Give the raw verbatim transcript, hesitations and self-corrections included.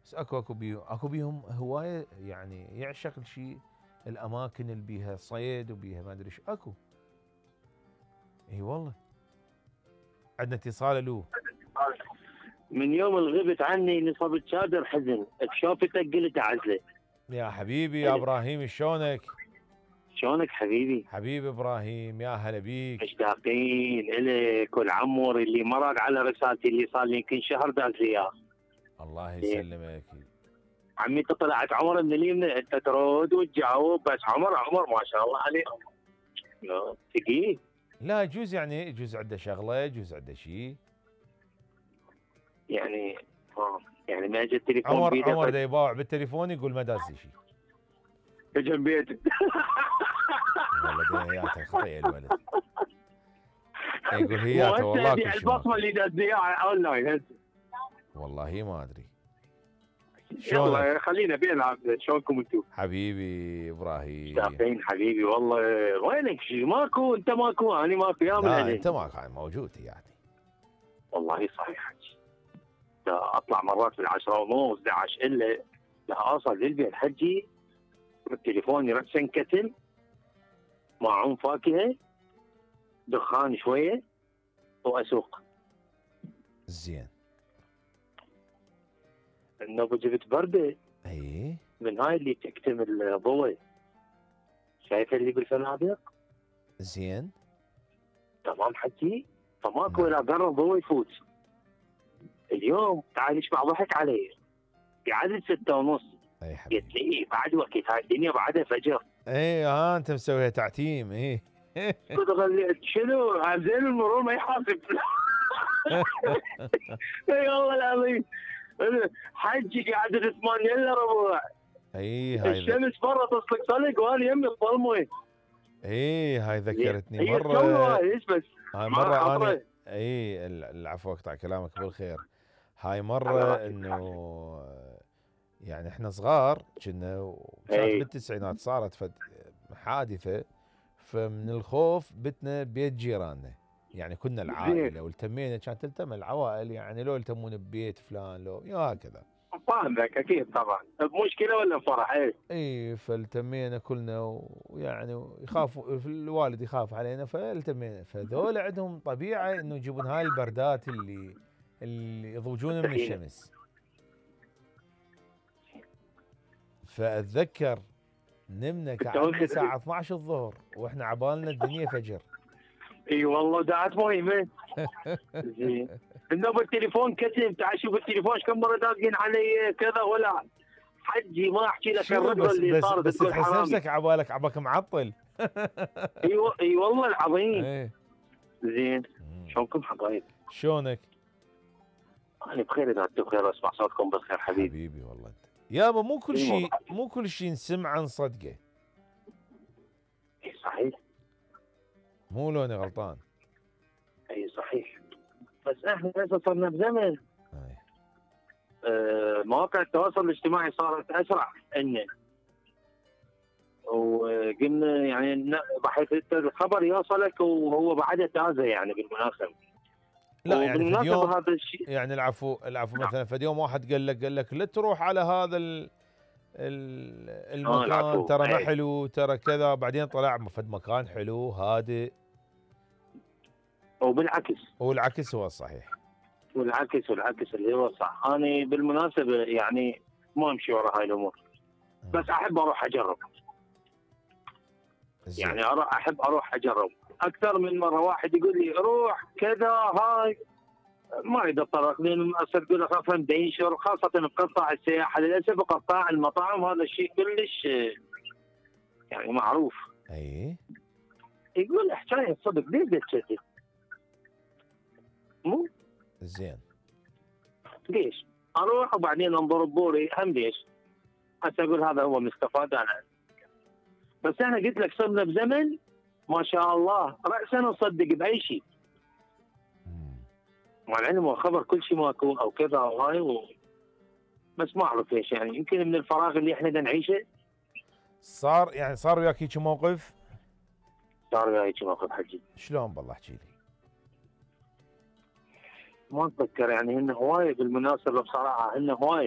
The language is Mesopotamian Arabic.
بس اكو اكو بيهم اكو بيهم هوايه يعني يعشق الشيء الاماكن اللي بيها صيد وبيها ما ادري ايش اكو. اي والله. عندنا اتصال. الو. من يوم اللي غبت عني نصبت شادر حزن، بشوفتك قلت اعزله. يا حبيبي يا ابراهيم شلونك؟ شلونك حبيبي؟ حبيبي ابراهيم يا هلا بيك. مشتاقين الك والعمر اللي مرق على رسالتي اللي صار لي يمكن شهر داز لي اياه. الله يسلمك. عمي انت طلعت عمر من اليمين، انت ترد وتجاوب، بس عمر عمر ما شاء الله عليه ثقيل. لا يجوز يعني يجوز عنده شغله يجوز عنده شيء يعني اه يعني ما اجى التليفون عمر بيده عمر دا يباوع بالتليفون يقول ما داز لي شيء. جنب بيتك. والله دنياته خطيه الولد. يقول هياته والله كل شيء. البصمه اللي داز لي اياها اونلاين. والله ما ادري. يلا خلينا بينا. شلونكم انتم؟ حبيبي ابراهيم. مشتاقين حبيبي والله. وينك؟ ماكو انت ماكو انا ماكو يا من لا انت ماكو موجود يعني. والله صحيح حجي. اطلع مرات بالعشرة ونص احد عشر الا لا اوصل للبيت حجي بالتليفون يرسن كتل معهم فاكهه دخان شويه واسوق. زين. النوبه جبت برده. اي من هاي اللي تكتم الضوء. شايفه اللي بالفنادق؟ زين. تمام حكي. فماكو ولا قرر ضوء يفوت. اليوم تعال اسمع ضحك علي. قعدت ستة ونص. اي حبيبي. قلت لي بعد وقت هاي الدنيا بعدها فجر. اي ها انت مسويها تعتيم. اي قلت غليت شنو زين المرور ما يحاسب. اي والله العظيم. حجي قعدت ثمانية الا ربع. اي هاي الشمس برا تصلك صلق وانا يمي الظلمه. اي هاي ذكرتني هي مره. هاي بس هاي مره انا اي العفو اقطع كلامك بالخير. هاي مره انه يعني احنا صغار كنا كانت بالتسعينات صارت فد حادثه فمن الخوف بتنا بيت جيراننا يعني كنا العائله والتمينا كانت تلتم العوائل يعني لو يلتمون ببيت فلان لو يا هكذا. فاهمك اكيد طبعا بمشكله ولا فرح. اي اي فالتمينا كلنا ويعني يخافوا الوالد يخاف علينا فالتمينا فذول عندهم طبيعه انه يجيبون هاي البردات اللي اللي يضوجون من الشمس. فاتذكر نمنا قعدنا الساعه اثني عشر الظهر واحنا عبالنا الدنيا فجر. اي والله دعت مهمه. زين. النوبه التليفون كتم تعال شوف التليفون ايش كم مره داقين علي كذا ولا حجي ما احكي لك الرده اللي صارت. بس تحس نفسك عبالك عبالك معطل. اي اي والله العظيم. زين. شلونكم حبايب؟ شلونك؟ انا بخير اذا انتم بخير واسمع صوتكم بالخير حبيبي. حبيبي والله انت. يابا مو كل شيء مو كل شيء نسمع عن صدقه. اي صحيح. مو لوني غلطان. اي صحيح. بس احنا هسه صرنا بزمن اي آه مواقع التواصل الاجتماعي صارت اسرع عنا وقلنا يعني بحيث الخبر يوصلك وهو بعدها تازه يعني بالمناسبه. لا يعني في اليوم هذا الشيء يعني العفو العفو نعم. مثلا في اليوم واحد قال لك قال لك لا تروح على هذا ال المكان ترى ما حلو ترى كذا بعدين طلع فد مكان حلو هادئ. وبالعكس والعكس هو الصحيح. والعكس والعكس اللي هو الصح. انا بالمناسبه يعني ما امشي ورا هاي الامور بس احب اروح اجرب. زي. يعني اروح احب اروح اجرب اكثر من مره. واحد يقول لي روح كذا هاي ما اريد اتطرق لان تقول اخاف هم ينشر خاصه بقطاع السياحه. للاسف قطاع المطاعم هذا الشيء كلش يعني معروف. اي يقول حكايه صدق ليش تشتت مو زين. ليش اروح وبعدين انضرب بوري هم ليش؟ هسه اقول هذا هو مستفاد انا. بس انا قلت لك صرنا بزمن ما شاء الله راسا نصدق باي شيء. مع العلم والخبر كل شيء ماكو او كذا وهاي و... بس ما اعرف ليش يعني يمكن من الفراغ اللي احنا نعيشه. صار يعني صار وياك هيك موقف؟ صار وياي هيك موقف حجي. شلون بالله احكي لي. ما اتذكر يعني هن هوايه بالمناسبه بصراحه هن هوايه